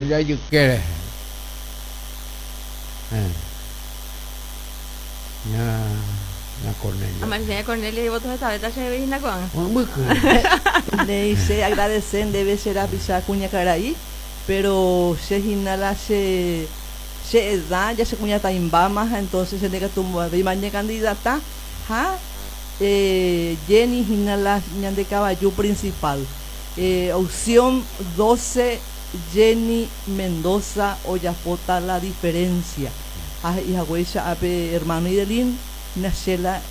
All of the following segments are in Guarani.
Oja ijyke rehe. Eh. Ña, ña Cornelia. Amanecer ña Cornelia y voto hetavéta chéve hína ko'ág̃a. Mbyky. Néi, che agradece ndéve che rapicha kuñakarai, pero che hína la che che edad ya che kuñatãimbáma ha entonces che ndekatumo'ãvéima ñacandidata ha Jenny hína la ñande kavaju principal. Opción 12 Jenny Mendoza ojapóta la diferencia. Ha he'i haguéicha ápe hermano Idelín, Nachela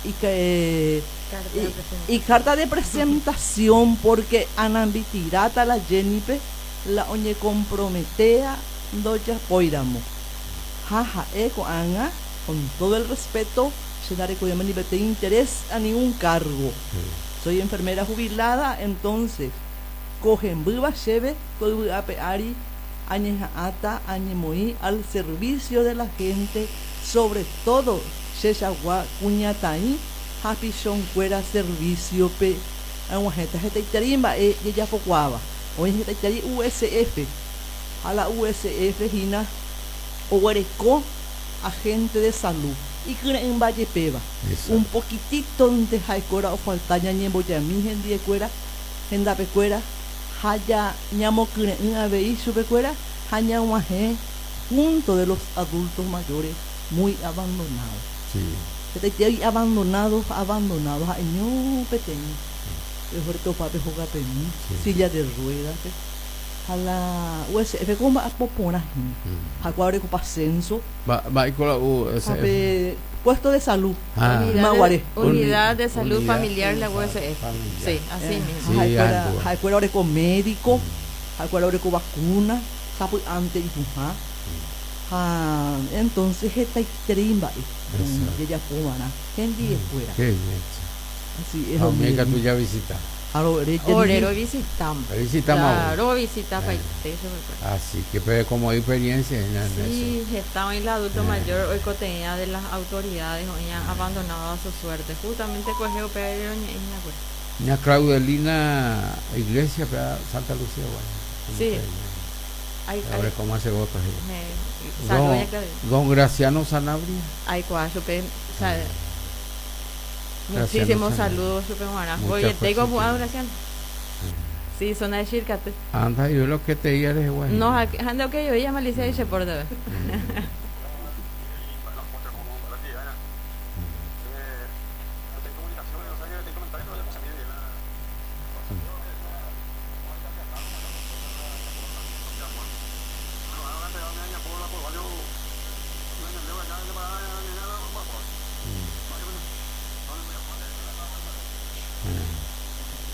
icarta de presentación porque anambitiráta la Jenny-pe la oñecomprometéa ndojapóiramo. Ha ha'e ko'ág̃a, con todo el respeto, che ndarekovéima ni peteĩ interés a ningún cargo. Soy enfermera jubilada, entonces ko hembýva chéve ko yvy ape ári añeha'ãta añemoĩ al servicio de la gente, sobre todo chechagua kuñataĩ ha pichonkuéra servicio-pe. Ag̃uahẽta hetaiterei mba'e jejapokuaáva. Oĩ hetaiterei USF ha la USF hína oguereko agente de salud ikyre'ỹmba jepéva. Un poquitito-nte ha'ekuéra ofalta ñañembojami hendiekuéra, hendapekuéra ha ja ñamokyre'ỹ avei chupekuéra ha ñag̃uahẽ punto de los adultos mayores muy abandonados. Hetaiterei abandonado ha abandonado ha'eño peteĩ ojeretopa pe hogapemi, silla de ruedas-pe ha la USF ko mba'apo porã hína. Ha kua orekopa censo. Mba'éiko la USF? Ha pe puesto de salud ymaguare. Unidad de Salud Familiar la USF. Sí, así mismo. Ha'ekuéra oreko médico, ha'ekuéra oreko vacuna, sapy'ánte ipu'ã. Ha entonces hetaiterei mba'e jejapova'erã hendiekuéra. Qué bien. Así es. Ha umi ikatu javisita. Ore rovisitama. Revisitama. Claro, rovisitapaite chupekuéra. Así que pero como hay experiencia en eso. Sí, heta oĩ la adulto mayor oikotevẽa de las autoridades oĩa abandonado a su suerte. Justamente kuehe upéva roñe'ẽ hína kuri. Ña Claudelina Iglesias pe Santa Lucía guay. Sí. Ahora cómo hace votos ella. Don, don Graciano Sanabria. Aikuaa chupe, o sea, muchísimos saludos chupe g̃uarã. Voiete opu'ã Graciano. Sí, zona de Chircate. Anda, yo lo que te diga eres guay. No, anda ok, yo ella malicia y se porta.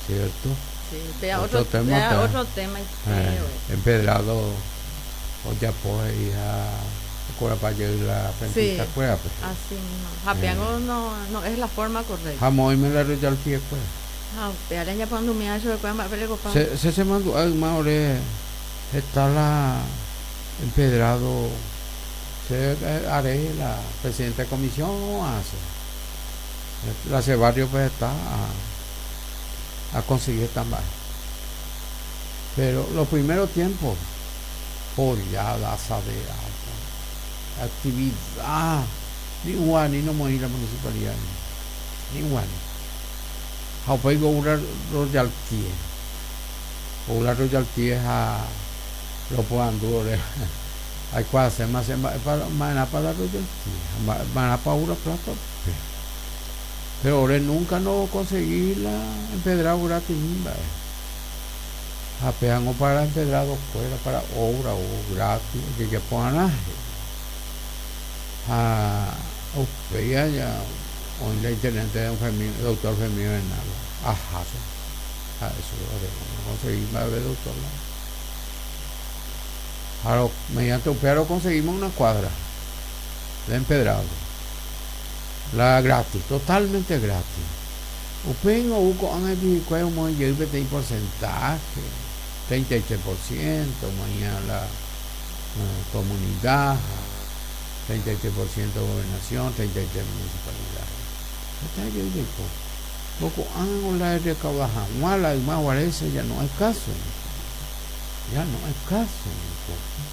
Cierto. Sí, vea otro, tema, vea otro tema. Empedrado ojapo he'i ha okorapajey la Sí, frentista kuérape. Así mismo. Japeango no, no es la forma correcta. Ha moĩme la royalty kuéra. Ha upévare ñaporandumiha chupekuéra mba'épe rekopa. Che che chemandu'a yma ore heta la empedrado che are la presidente de comisión hace. La che barrio-pe heta a conseguí heta mba'e. Pero los primeros tiempos pollada, asadera, actividad, ni guani no moĩ la municipalidad ni guani. Ha upéi ou la royalty. Ou la royalty ha roporandu ore aikuaaséma che mba'épa ma'erãpa la royalty ha ma'erãpa ou la plata upe. Pero ore nunca no conseguí la empedrado gratis ni mba'e. Ha pévango para empedrado kuéra para obra ou gratis ojejapo'arã he'i. Ha upéi aja oĩ la intendente don Fermín, doctor Fermín Bernal aháse ha'e chupe ore roconseguí mba'eve doctor la. Ha mediante upéva roconseguimos una cuadra de empedrado. La gratis, totalmente gratis. Upéi ou ko'ág̃a hikuái omoĩ jey peteĩ porcentaje, 33% omoĩha la comunidad, 33% gobernación, 33 municipalidad. Heta jey jaiko. Ko ko'ág̃a la recauda hag̃ua la yma guaréicha ya no es caso. Ya no es caso.